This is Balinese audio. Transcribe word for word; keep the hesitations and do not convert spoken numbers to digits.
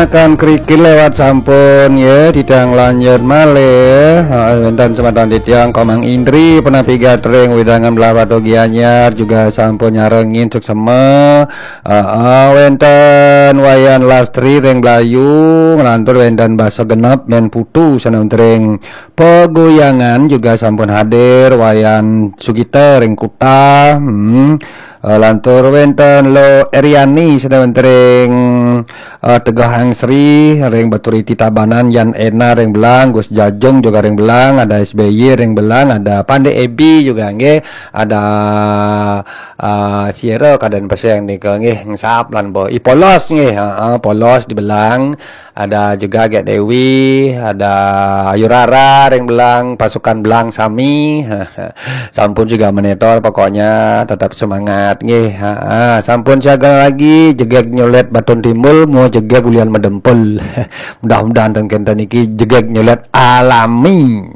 Akan kerikil lewat sampun ya, titiang lanjut malih. Ha, wénten semeton titiang Komang Indri, penapi gatring wewidangan Blahbatuh Gianyar juga sampun nyarengin suksema. Ha, wénten Wayan Lastri ring Blayu, nglantur wénten Basa Genep, Mén Putu, sané ring Peguyangan juga sampun hadir, Wayan Sugita ring Kuta, hmm. Eh, lantur wénten Lo Eriani, sané wénten ring eh, Tegal Angsri, ring Baturiti Tabanan, Yan Ena ring Belang, Gus Jajung juga ring Belang, ada S B Y ring Belang, ada Pande Ebi juga nggih, ada eh, Sira Kaden Peseng nika nggih, Ngesap lan Bo. I Polos nggih, ha, ha, Polos di Belang, ada juga Gek Dewi, ada Ayu Rara ring Belang, pasukan Belang sami. Sampun juga menetor, pokoknya tetap semangat nggih. Ha, ha. Sampun siaga lagi, jegeg nyulet batun timbul, mau jegeg ulian medempul. Mudah-mudahan ten kenten iki jegeg nyulet alami.